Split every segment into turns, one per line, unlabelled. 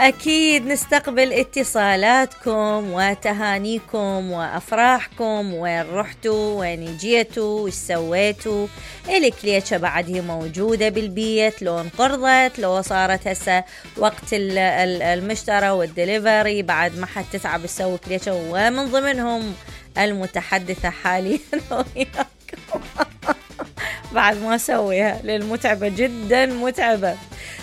أكيد نستقبل اتصالاتكم وتهانيكم وأفراحكم، وين رحتوا، وين جيتوا، وش سويتوا. الكليتشة بعد هي موجودة بالبيت، لو انقرضت، لو صارت هسه وقت المشترى والدليفري بعد ما حد تتعب تسوي كليتشة، ومن ضمنهم المتحدثة حاليا وياكم بعد ما سويها للمتعبة جدا متعبة.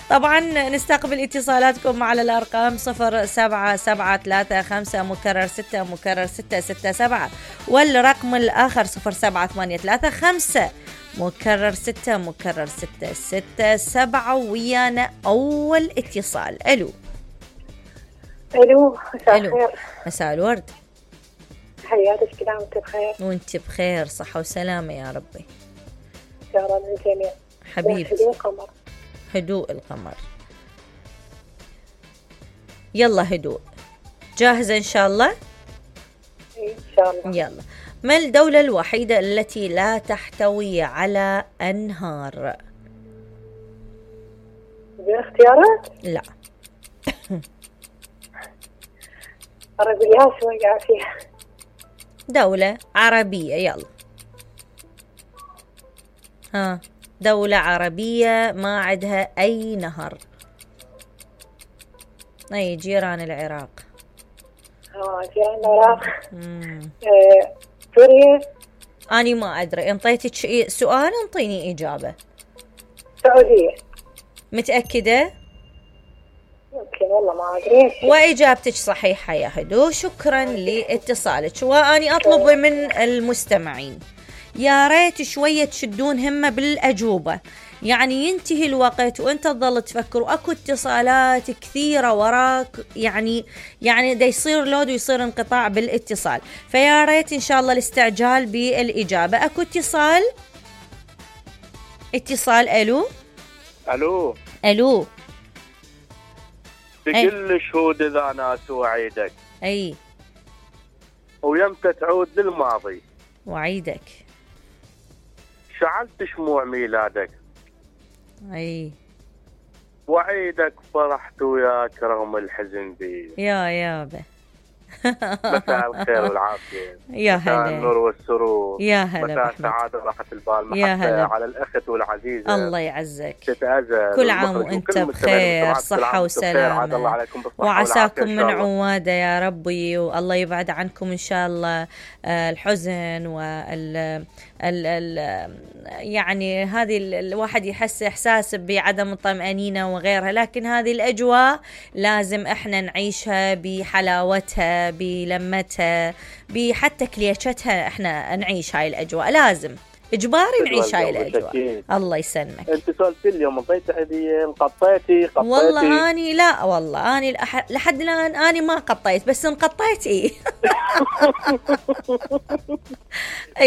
طبعا نستقبل اتصالاتكم على الأرقام 077335 مكرر 6 مكرر 667 والرقم الآخر 07835 مكرر 6 مكرر 667. ويانا أول اتصال. ألو
مساء الخير.
مساء الورد.
حياتك كده وانت بخير؟
وانت بخير صحة وسلامة يا ربي
يا رب الجميع
حبيبتي.
هدوء القمر.
هدوء القمر. يلا هدوء. جاهزة إن شاء الله؟
إن شاء الله.
يلا. ما الدولة الوحيدة التي لا تحتوي على أنهار؟
باختيارات؟
لا.
عربية شوية فيها.
دولة عربية. يلا. ها، دولة عربية ما عندها أي نهر. أي جيران العراق.
جيران العراق. سوريا.
أنا ما أدري، انطيتك سؤال انطيني إجابة.
سعودية.
متأكدة؟
يمكن والله ما أدري.
وإجابتك صحيحة يا هدو، شكرا لاتصالك. وأني أطلب من المستمعين يا ريت شوية تشدون همة بالأجوبة، يعني ينتهي الوقت وانت تظل تفكر واكو اتصالات كثيرة وراك، يعني دا يصير لود ويصير انقطاع بالاتصال، فيا ريت ان شاء الله الاستعجال بالإجابة. اكو اتصال. ألو
بكل شهود إذا ناس وعيدك.
أي
ويمتى تعود للماضي
وعيدك.
شعلت شموع ميلادك.
أي
وعيدك فرحت وياك رغم الحزن بي.
يا يابا.
مساء الخير والعافية.
يا هلا.
مساء النور والسرور.
يا هلا.
مساء السعادة وراحة البال. محبة على الأخت والعزيزة.
الله يعزك.
تتأذى.
كل عام وانت بخير، صحة وسلامة، وعساكم من عوادة يا ربي، والله يبعد عنكم إن شاء الله الحزن يعني هذه الواحد يحس إحساس بعدم الطمأنينة وغيرها، لكن هذه الأجواء لازم إحنا نعيشها بحلاوتها بلمتها بحتى كليشتها، إحنا نعيش هاي الأجواء، لازم إجباري نعيش هاي الأجواء. الله يسلمك.
أنت سألت اليوم انطيت هدية قطيتي؟
والله أني لا، والله أني لحد الآن أني ما قطيت، بس انقطيت إيه.